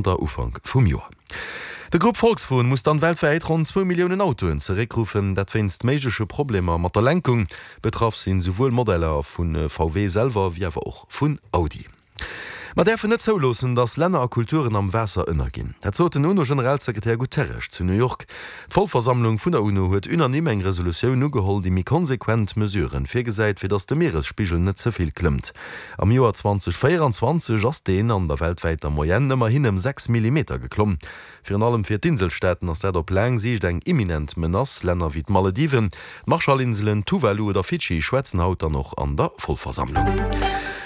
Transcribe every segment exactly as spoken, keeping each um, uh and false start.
Zanter Ufank vum Joer. De Grupp Volkswagen muss dann weltwäit ronn zwou Milliounen Autoen zeréckruffen, dat wéinst méigleche Problemer mat der Lenkung. Betraff sinn souwuel Modeller vu V W selwer wéi awer och vun Audi. Mer däerfen net zouloossen, datt Länner a Kulturen am Waasser ënnerginn. Dat sot den UNO-Generalsekretär Guterres zu New York. D'Vollversammlung vun der UNO huet unanime eng Resolutioun ugeholl, déi méi konsequent Mesuren virgesäit, fir datt de Mieresspigel net ze vill klëmmt. Am Joer zweedausendvéierenzwanzeg ass deen an der weltwäiter Moyenne ëmmerhin ëm sechs Millimeter geklomm. Virun allem fir d'Inselstaaten ass dat op laang Siicht eng imminent Menace. Länner wéi d'Malediven, d'Marshallinselen, Tuvalu oder Fidschi schwätzen haut dann och an der Vollversammlung.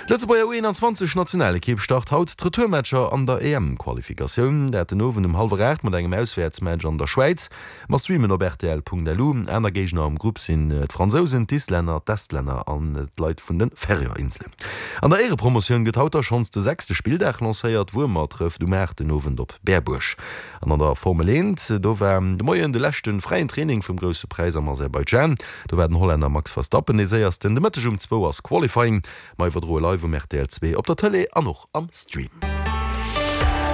D'Lëtzebuerger U eenanzwanzeg Nationalekipp start haut d'Retourmatcher an der E M-Qualifikatioun. Dat den Owend um hallwer aacht mat engem Auswäertsmatch an der Schwäiz. Mer streamen op rtl Punkt L U. Aner Géigner am Grupp sinn d'Fransousen, d'Islänner, d'Estlänner an d'Leit vun de Färöer-Inselen. An der Éierepromotioun gëtt haut da schonns de sechste Spilldag lancéiert. Wuermer trëfft um aacht den Owend op Berbuerg. An an der Formel eent, do war de Moien de leschte fräien Training vum Grousse Präis am Aserbaidschan. Do war den Hollänner Max Verstappen dee Séiersten. De Mëtteg um zwou ass Qualifying. Mer iwwerdroe live um R T L zwee op der Tëlee an och am Stream.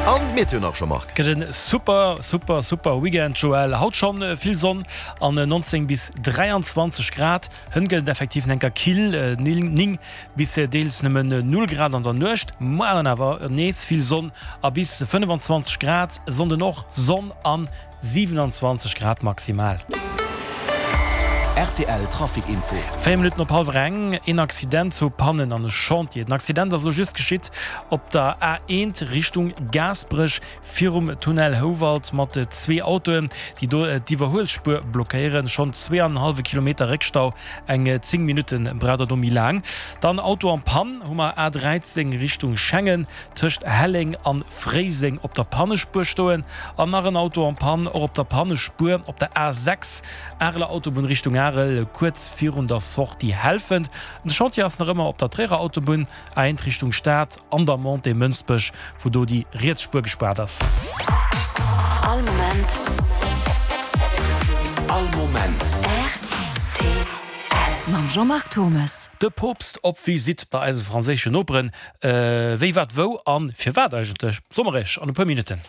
An d'Meteo nach, Jean-Marc. Gëtt en super super super Weekend, Joël. Haut schonn vill Sonn an neunzéng bis dräianzwanzeg Grad. Hënt gëtt et effektiv enker kill, néng bis deels nëmmen null Grad an der Nuecht. Muer dann awer nees vill Sonn a bis fënnefanzwanzeg Grad. Sonnden och Sonn an siewenanzwanzeg Grad maximal. R T L Trafic Info. Véier Minutten op hallwer eng, een Accident zu Pannen an e Chantier. Den Accident ass elo just geschitt op der A eent Richtung Gaasperech virum Tunnel Houwald mat zwee Autoen, déi do d'Iwwerhuelspuer blockéieren. Schonn zwee an en hallwe Kilometer Réckstau, eng zéng Minutte braucht der do méi laang. Dann Auto en Panne hu mer A dräizéng Richtung Schengen tëscht Helleng an Fréiseng op der Pannespuer stoen. An nach en Auto en Panne och op der Pannespuer op der A sechs Areler Autobunn Richtung Arel, kuerz virun der Sortie Helfent. De Chantier ass nach ëmmer op der Tréierer Autobunn, A eent Richtung Stad, an der Montée Mënsbech, wou do déi riets Spuer gespaart ass. All Moment. All Moment. R T L mam Jean-Marc Thommes. De Poopst op Visitt bei eise franséischen Noperen. Wéi, wat, wou an firwat eigentlech? Soe mer Iech an e puer Minutten.